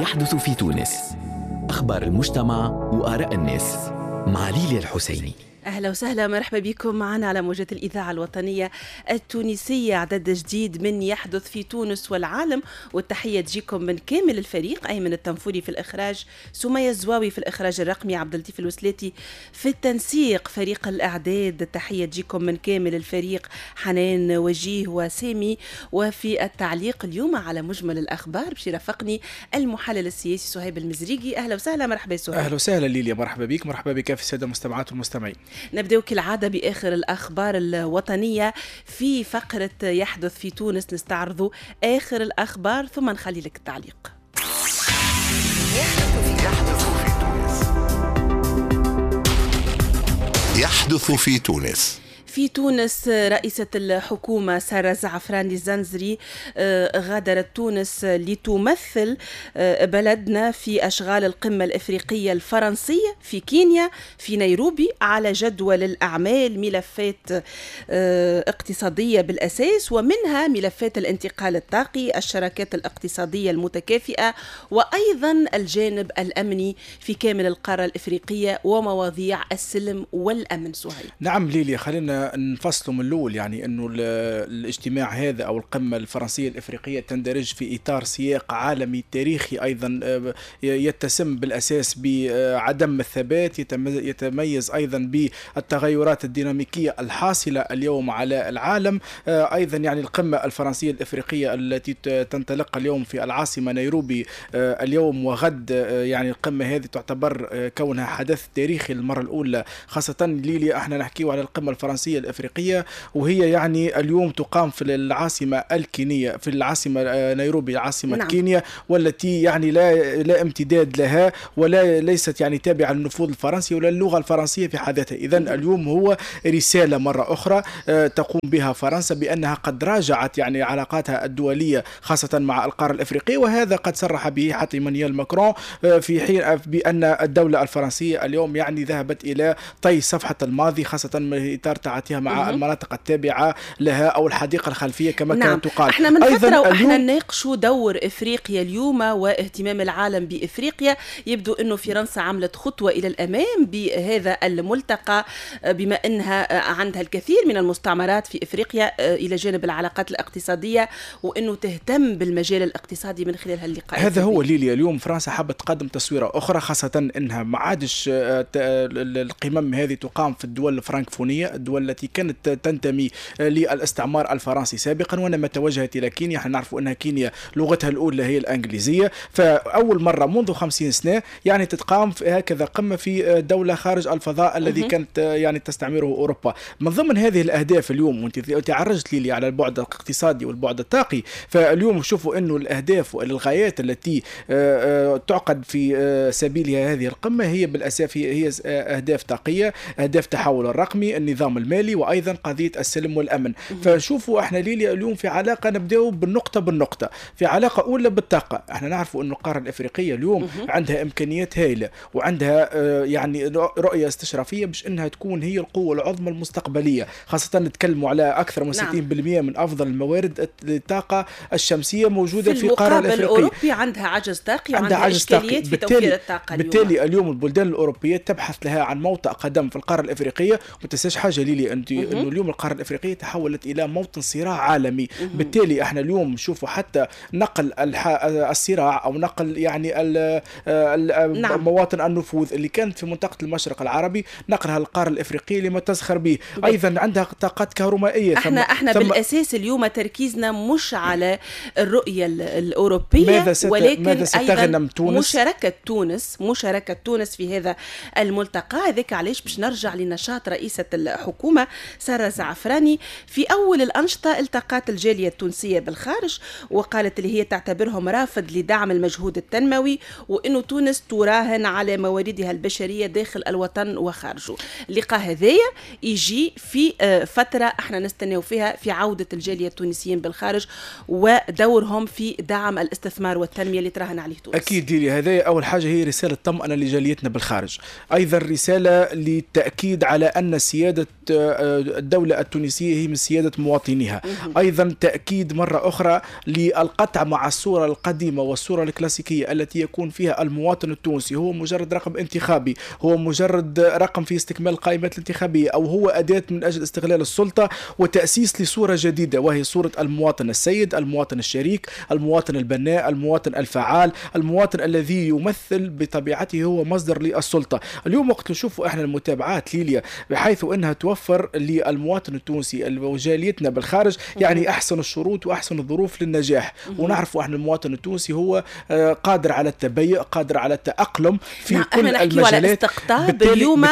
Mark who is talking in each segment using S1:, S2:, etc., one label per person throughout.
S1: يحدث في تونس، أخبار المجتمع وآراء الناس مع ليليا الحسيني.
S2: أهلا وسهلا، مرحبا بكم معنا على موجة الإذاعة الوطنية التونسية. عدد جديد من يحدث في تونس والعالم، والتحية تجيكم من كامل الفريق: أيمن التنفوري في الإخراج، سمية الزواوي في الإخراج الرقمي، عبد اللطيف الوسلاتي في التنسيق، فريق الإعداد التحية تجيكم من كامل الفريق حنان وجيه وسامي. وفي التعليق اليوم على مجمل الأخبار باش يرافقني المحلل السياسي صهيب المزريقي. أهلا وسهلا، مرحبا سهيب.
S3: أهلا وسهلا ليليا، مرحبا بك، مرحبا بك في السادة المستمعات والمستمعين.
S2: نبدأ كالعادة بآخر الأخبار الوطنية في فقرة يحدث في تونس، نستعرض آخر الأخبار ثم نخلي لك التعليق.
S4: يحدث في تونس. يحدث في تونس.
S2: في تونس رئيسة الحكومة سارة زعفراني الزنزري غادرت تونس لتمثل بلدنا في أشغال القمة الإفريقية الفرنسية في كينيا في نيروبي، على جدول الأعمال ملفات اقتصادية بالأساس، ومنها ملفات الانتقال الطاقي، الشراكات الاقتصادية المتكافئة، وأيضا الجانب الأمني في كامل القارة الإفريقية ومواضيع السلم والأمن. سهيل.
S3: نعم ليليا، خلينا نفصلوا من الأول، يعني أنه الاجتماع هذا أو القمة الفرنسية الإفريقية تندرج في إطار سياق عالمي تاريخي أيضا يتسم بالأساس بعدم الثبات، يتميز أيضا بالتغيرات الديناميكية الحاصلة اليوم على العالم. أيضا يعني القمة الفرنسية الإفريقية التي تنطلق اليوم في العاصمة نيروبي اليوم وغد، يعني القمة هذه تعتبر كونها حدث تاريخي للمرة الأولى، خاصة ليليا احنا نحكيه على القمة الفرنسية الإفريقية، وهي يعني اليوم تقام في العاصمة الكينية، في العاصمة نيروبي عاصمة نعم. كينيا، والتي يعني لا امتداد لها ولا ليست يعني تابعة للنفوذ الفرنسي ولا اللغة الفرنسية في حد ذاتها. إذن اليوم هو رسالة مرة أخرى تقوم بها فرنسا بأنها قد راجعت يعني علاقاتها الدولية خاصة مع القارة الإفريقية، وهذا قد صرح به حتى إيمانويل ماكرون في حين بأن الدولة الفرنسية اليوم يعني ذهبت إلى طي صفحة الماضي، خاصة من إطار تعاطيها مع المناطق التابعة لها أو الحديقة الخلفية كما نعم. كانت تقال.
S2: احنا من فترة واحنا نناقشوا دور إفريقيا اليوم واهتمام العالم بإفريقيا. يبدو أنه فرنسا عملت خطوة إلى الأمام بهذا الملتقى، بما أنها عندها الكثير من المستعمرات في إفريقيا إلى جانب العلاقات الاقتصادية، وأنه تهتم بالمجال الاقتصادي من خلال هاللقاء.
S3: هذا هو ليليا، اليوم فرنسا حابة تقدم تصويرة أخرى، خاصة أنها ما عادش القمم هذه تقام في الدول الفرنكفونية، الدول التي كانت تنتمي للاستعمار الفرنسي سابقا، وإنما توجهت إلى كينيا. احنا نعرف أنها كينيا لغتها الأولى هي الإنجليزية، فأول مرة منذ 50 سنة يعني تتقام في هكذا قمة في دولة خارج الفضاء الذي كانت يعني تستعمره أوروبا. من ضمن هذه الأهداف اليوم، وأنت عرجت لي على البعد الاقتصادي والبعد الطاقي، فاليوم شوفوا أنه الأهداف والغايات التي تعقد في سبيلها هذه القمة هي بالأساس هي أهداف طاقية، أهداف تحول الرقمي، النظام المالي، وأيضا قضية السلم والأمن. فشوفوا احنا ليليا اليوم في علاقة، نبداو بالنقطة بالنقطة، في علاقة أولى بالطاقة. احنا نعرفوا أن القارة الإفريقية اليوم عندها إمكانيات هائلة وعندها يعني رؤية استشرافية باش أنها تكون هي القوة العظمى المستقبلية، خاصة نتكلموا على أكثر من 60% من أفضل الموارد الطاقة الشمسية موجودة في القارة الإفريقية.
S2: الأوروبي عندها عجز طاقي وعندها إشكاليات في توفير الطاقة.
S3: بالتالي اليوم البلدان الأوروبية تبحث لها عن موطئ قدم في القارة الإفريقية. وما تنساش حاجة ليلي أنت، أنه اليوم القارة الإفريقية تحولت إلى موطن صراع عالمي. بالتالي احنا اليوم نشوفوا حتى نقل الصراع أو نقل يعني نعم. مواطن النفوذ اللي كانت في منطقة المشرق العربي نقلها للقارة الإفريقية لما تزخر به. أيضا عندها طاقات كهرومائية.
S2: احنا بالأساس اليوم تركيزنا مش على الرؤية الأوروبية، ولكن
S3: ماذا ستغنم تونس؟
S2: مشاركة تونس في هذا الملتقى. هذاك علاش باش نرجع لنشاط رئيسة الحكومة سارة زعفراني. في أول الأنشطة التقت الجالية التونسية بالخارج، وقالت اللي هي تعتبرهم رافد لدعم المجهود التنموي، وأنه تونس تراهن على مواردها البشرية داخل الوطن وخارجه. اللقاء هذايا يجي في فترة احنا نستناو فيها في عودة الجالية التونسيين بالخارج ودورهم في دعم الاستثمار والتنمية اللي تراهن عليه تونس.
S3: أكيد ديلي، هذا أول حاجة هي رسالة طمأنة لجاليتنا بالخارج، أيضا رسالة للتأكيد على أن سيادة الدولة التونسية هي من سيادة مواطنيها. أيضا تأكيد مرة أخرى للقطع مع الصورة القديمة والصورة الكلاسيكية التي يكون فيها المواطن التونسي هو مجرد رقم انتخابي، هو مجرد رقم في استكمال القائمات الانتخابية، أو هو أداة من أجل استغلال السلطة، وتأسيس لصورة جديدة وهي صورة المواطن السيد، المواطن الشريك، المواطن البناء، المواطن الفعال، المواطن الذي يمثل بطبيعته هو مصدر للسلطة. اليوم وقت نشوفوا احنا المتابعات ليليا بحيث انها توفر للمواطن التونسي وجاليتنا بالخارج يعني احسن الشروط واحسن الظروف للنجاح. ونعرفوا احنا المواطن التونسي هو قادر على التبيؤ، قادر على التأقلم في كل المجالات.
S2: على استقطاب اليوم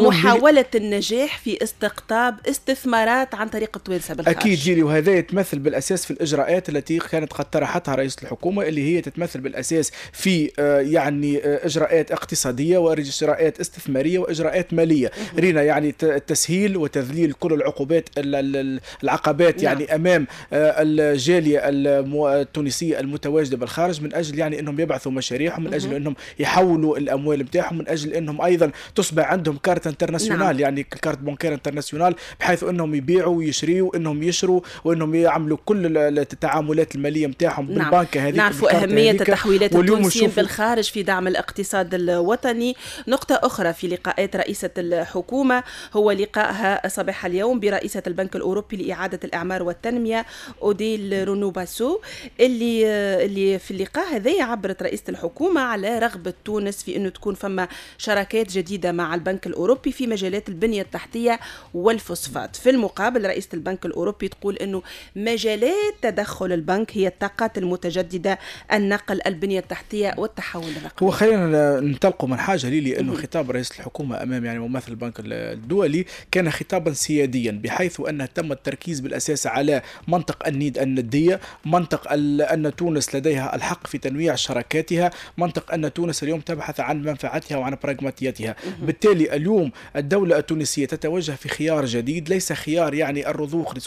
S2: محاولة النجاح في استقطاب استثمارات عن طريق التوانسة بالخارج.
S3: أكيد جيلي، وهذا يتمثل بالأساس في الإجراءات التي كانت قد طرحتها رئيس الحكومة، اللي هي تتمثل بالأساس في يعني إجراءات اقتصادية وإجراءات استثمارية وإجراءات مالية. رينا يعني التسهيل وتذليل كل العقوبات العقبات يعني أمام الجالية التونسية المتواجدة بالخارج، من أجل يعني أنهم يبعثوا مشاريعهم، من أجل أنهم يحولوا الأموال بتاعهم، من أجل أنهم أيضا تصبح عندهم carte internationale، يعني carte bancaire internationale، بحيث أنهم يبيعوا ويشريوا، أنهم يشروا وأنهم يعملوا كل التعاملات المالية نتاعهم بالبنكة هذيك.
S2: نعرفوا أهمية التحويلات التونسية بالخارج في دعم الاقتصاد الوطني. نقطة أخرى في لقاءات رئيسة الحكومة هو لقائها صباح اليوم برئيسة البنك الأوروبي لإعادة الإعمار والتنمية أوديل رونو باسو، اللي في اللقاء هذا عبرت رئيسة الحكومة على رغبة تونس في أنه تكون فما شراكات جديدة مع البنك الأوروبي في مجالات البنية التحتية والفوسفات. في المقابل رئيسة البنك الأوروبي تقول أنه مجالات تدخل البنك هي الطاقات المتجددة، النقل، البنية التحتية والتحول الرقمي.
S3: هو خلينا ننطلقوا من حاجة ليلي، أنه خطاب رئيس الحكومة أمام يعني ممثل البنك الدولي كان خطابا سياديا، بحيث أنه تم التركيز بالأساس على منطق الند الندية، منطق أن تونس لديها الحق في تنويع شراكاتها، منطق أن تونس اليوم تبحث عن منفعتها وعن براغماتيتها. بالتالي اليوم الدولة التونسية تتوجه في خيار جديد، ليس خيار يعني الرضوخ لصندوق